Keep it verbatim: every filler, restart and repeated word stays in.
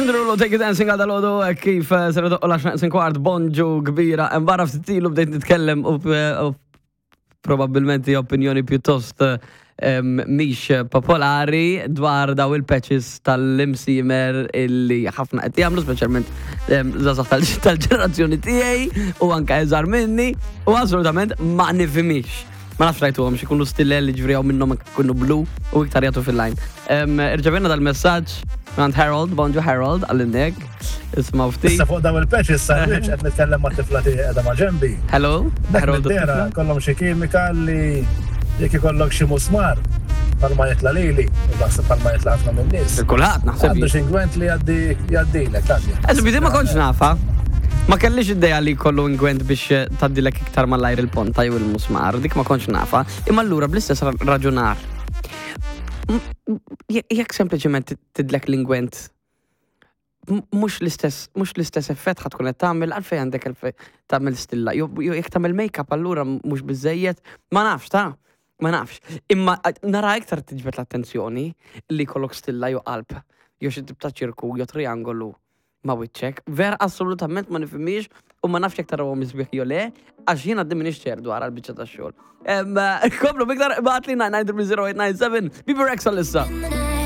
Jason Derulo, "Take You Dancing" għal dalgħodu, kif eh, ser idoqqu l-għaxra neqsin kwart, bonġu kbira. Barra ftit ilu bdejt nitkellem u u probabbilment hija opinjoni pjuttost em, mhix popolari dwar daw il-patches tal-imsiemer illi ħafna qed jagħmlu, speċjalment em, żgħażagħ tal- tal-ġenerazzjoni tiegħi u anke iżgħar minni, u assolutament ma nifhimix. Ma nafx rajtuhom xi jkunu stillel li ġifieri minnhom ikunu blu u iktar jagħtu fil-line. Em, Irċevejna dal-messaġġ minn Harold, bonġu Harold, għall-indek. Isma' ftit. Issa fuq daw il-patches sandwich qed nitkellem ma' tifla tiegħi qiegħda ma' ġenbi. Hello, Dak Harold. mid-dehra kollhom xi kimika li jekk ikollok xi musmar palma jitla lili, u naħseb palma jitla ħafna minn nies. Kulħadd naħseb. Għandu xi ingwent li jgħaddi jgħaddilek, għaddi. Eżempju, di ma kontx nafha. Ma kellix idea li kollu ingwent biex eh, tgħaddilek iktar malajr il-ponta jew il-musmar, dik ma kontx nafha. Imma allura bl-istess ra- raġunar. M- m- je- Jekk sempliċement tidlek l-ingwent, m- mhux l-istess, mhux l-istess effett ħa tkun qed tagħmel, għalfejn għandek għalfejn tagħmel stilla? Jew jew jekk tagħmel make-up allura mhux biżejjed, ma nafx ta' ma nafx. Imma eh, nara iktar tiġbed l-attenzjoni li jkollok stilla jew qalb, jew xi tip ta' ċirku jew triangolu ma' wiċċek. Ver assolutament ma nifhimix u ma nafx jekk tarawhom isbieħ jew le, għax jiena għadni m'iniex ċert dwar għal-biċċa tax-xogħol. Em, Komplu biktar, ibgħatli nine nine zero eight nine seven, Bebe Rexha issa.